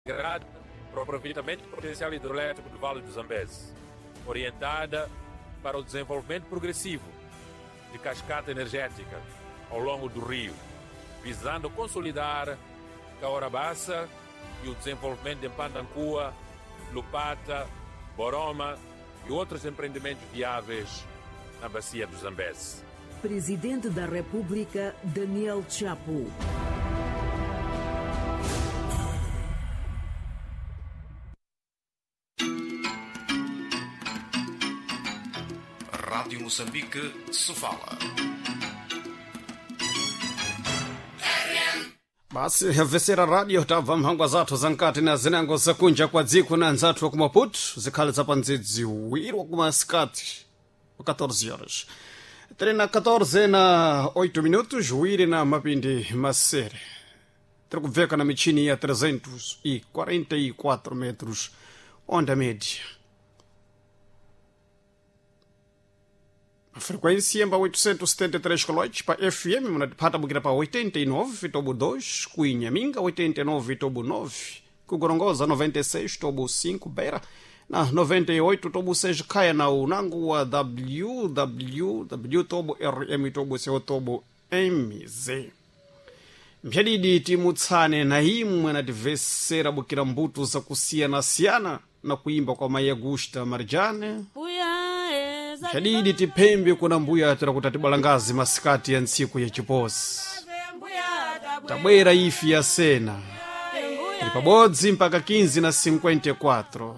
Integrada para o aproveitamento do potencial hidrelétrico do Vale do Zambeze, orientada para o desenvolvimento progressivo de cascata energética ao longo do rio, visando consolidar Caorabassa e o desenvolvimento de Mpandancua, Lupata, Boroma e outros empreendimentos viáveis na bacia do Zambeze. Presidente da República, Daniel Chapo. Rádio Moçambique, Sofala. Basi yabvesera radio tabva mphangwa zathu zamkati na zinango zakunja kwa dziko na anzathu wa ku Maputo zikhale zapandzidzi wiro kumasikati 14 horas 3 na 14 na 8 minutos wiri na mapindi masere tiri kubveka na michini ya 344 metros onda média frequência pa 873 kHz pa FM munatipata bukira pa 89 tobo 2 kuinhaminga 89 tobo 9 kugorongoza 96 tobo 5 beira na 98 tobo 6 kaya na unangu wa www tobo rm tobo co tobo mz mphadidi timutsane na imwe anativesera bukira mbuto zakusiyana-siyana na kuimba kwa Maria Augusta Marjane mphadidi tiphembe kuna mbuya tira kuti atibalangazi masikati ya ntsiku ya chiposi tabwera ifi ya sena ili pabodzi mpaka 15 na 54.